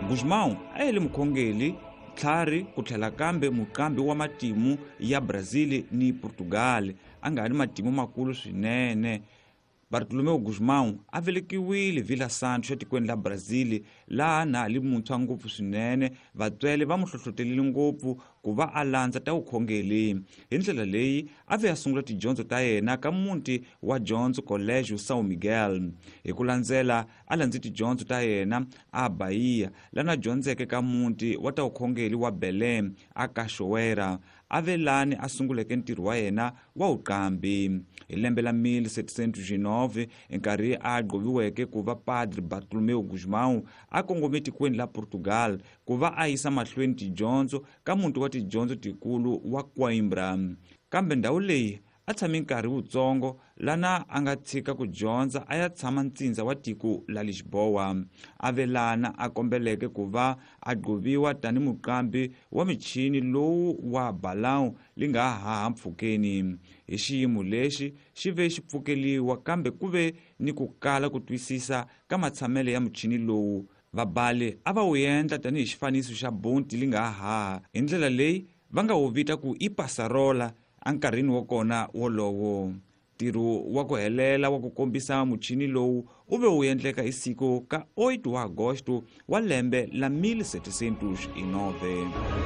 Gusmão a yele mukhongeli, tlhari ku tlhela kambe muqambi wa matimu ya Brazil ni Portugal, a nga ni matimu makulu swinene. Bartolomeu Gusmão a velekiwile Vila Santos etikweni la Brazil, laha na li muntshwa ngopfu swinene. Vatswele va mu hlohlotelile ngopfu ku va a landza ta vukhongeli. Hi ndlela leyi a ve a sungula tidyondzo ta yena ka muti wa dyondzo Colégio São Miguel. Hi ku landzela a landze tidyondzo ta yena a Bahia, lana dyondzeke ka muti wa ta vukhongeli wa Belém a Cachoeira. A ve lani a sunguleke ntirho wa yena wa vuqambi. Hi lembe la 1709, nkarhi a gqoviweke ku va Padre Bartolomeu Gusmão a kongome tikweni la Portugal ku va a yisa mahlweni tidyondzo ka muti wa tidyondzo tikulu wa Coimbra. Kambe ndhawu leyi a tshame nkarhi wutsongo, lana a nga tshika ku dyondza a ya tshama ntsindza wa tiko la Lisboa. A ve lana a kombeleke ku va a gqoviwa tani muqambi wa michini lowu wa balão li nga haha mpfhukeni. Hi xiyimo lexi xi ve xi pfukeliwa, kambe ku ve ni ku kala ku twisisa ka matshamelo ya muchini lowu. Vabali a va wu endla tanihi xifaniso xa bonti li nga haha, hi ndlela leyi va nga wu vita ku i passarola enkarhini wa kona wolowo. Ntirho wa ku helela wa ku kombisa muchini lowu wu ve wu endleka hi siku ka 8 wa agosto wa lembe la 1709.